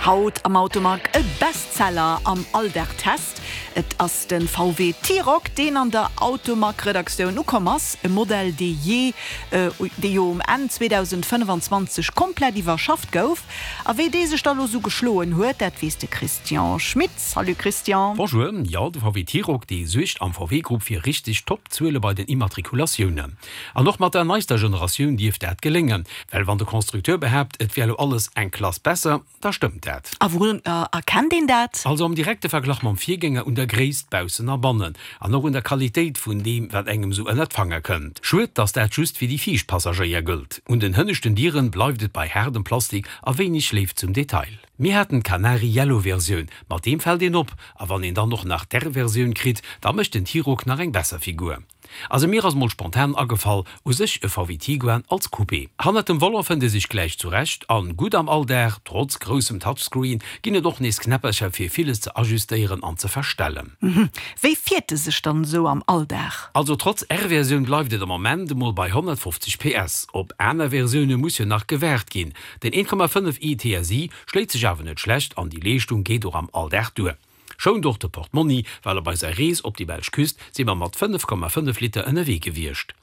Haut am Automag e Bestseller am Alldag-Test. Et ass de VW T-Roc, deen an der Automag-Redaktioun ukomm ass. E Modell, dee jee, dee jo um Enn 2025 komplett iwwerschafft gouf. A wéi dee sech da lo sou geschloen huet, dat weess de Christian Schmit. Salut Christian. Bonjour, jo de VW T-Roc dee suergt am VW Grupp fir richteg top Zuele bei den Immatrikulatiounen. An och mat der neister Generatioun dierft dat geléngen, well wann de Constructeur behaapt et wär lo alles eng Klass besser, da stëmmt dat. A wourun erkennt een dat? Also am direkte Verglach mam Virgänger un der Gréisst baussen a bannen an och un der Qualitéit vun deem wat engem sou ënnert d'Fanger kënnt. Schued dass dat just fir déi viischt Passagéier gëllt. Un den hënneschten Dieren bleift et bei haardem Plastik a wéineg Léift zum Detail. Mir haten d'Canary Yellow Versioun, mat deem fält een op, a wann een dann och nach d'R-Versioun kritt, da mécht den T-Roc nach eng besser Figur. Also mir ass mol spontan agefall, u sech e VW Tiguan als Coupé. Hannert dem Volant fënnt ee sech gläich zurecht an gutt am Alldag, trotz groussem Touchscreen ginn et och nees Knäppercher fir villes ze ajustéieren an ze verstellen. Wéi fiert e sech dann esou am Alldag? Also trotz R-Versioun bleift et am Ament emol bei 150 PS. Op aner Versioune muss jo nach gewaart ginn. Den 1,5 i TSI schléit sech awer net schlecht an déi Leeschtung geet och am Alldag duer. Schount och de Portmonni, well op eiser Rees op déi belsch Küst si mer mat 5,5 Liter ënnerwee gewiescht.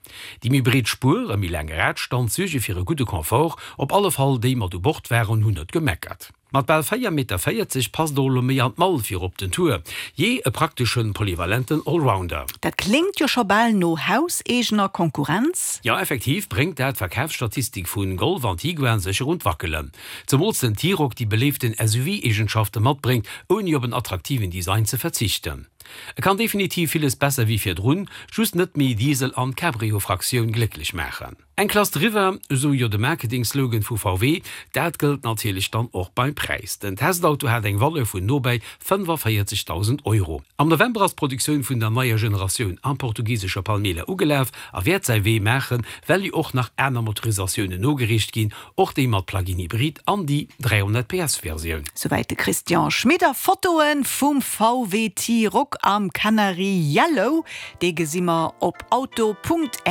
Déi méi breet Spuer a méi laang Radstand suerge fir e gudde Confort, op alle Fall déi mat u Bord waren hunn net gemeckert. Mat bal 4 Meter 40 passt och elo méi an d'Mall fir op den Tour. Jee, e prakteschen, polyvalenten Allrounder. Dat kléngt jo scho bal no hauseegener Konkurrenz. Jo, effektiv bréngt dat d'Verkafsstatistik vun Golf an Tiguan sécher un d'Wackelen. Zemools den T-Roc déi beléiften SUV-Eegenschafte matbréngt, ouni op en attraktiven Design ze verzichten. E kann definitiv villes besser wéi virdrun, just net méi Diesel an Cabrio-Fraktioun glécklech maachen. Eng Klass driwwer, esou jo de Marketing-Slogan vu VW. Dat gëllt natierlech dann och beim Präis. Den Testauto hat eng Valeur vun nobäi 45.000 Euro. Am November ass d'Produktioun vun der neier Generatioun am portugisesche Palmela ugelaf a wäert säi Wee maachen, well jo och nach aner Motorisatiounen nogereecht ginn, Och déi mat Plug-in Hybrid an déi 300 PS Versioun. Souwäit de Christian Schmit a Fotoen vum VW T-Roc am Canary Yellow. Dee gesi mer op auto.rtl.lu.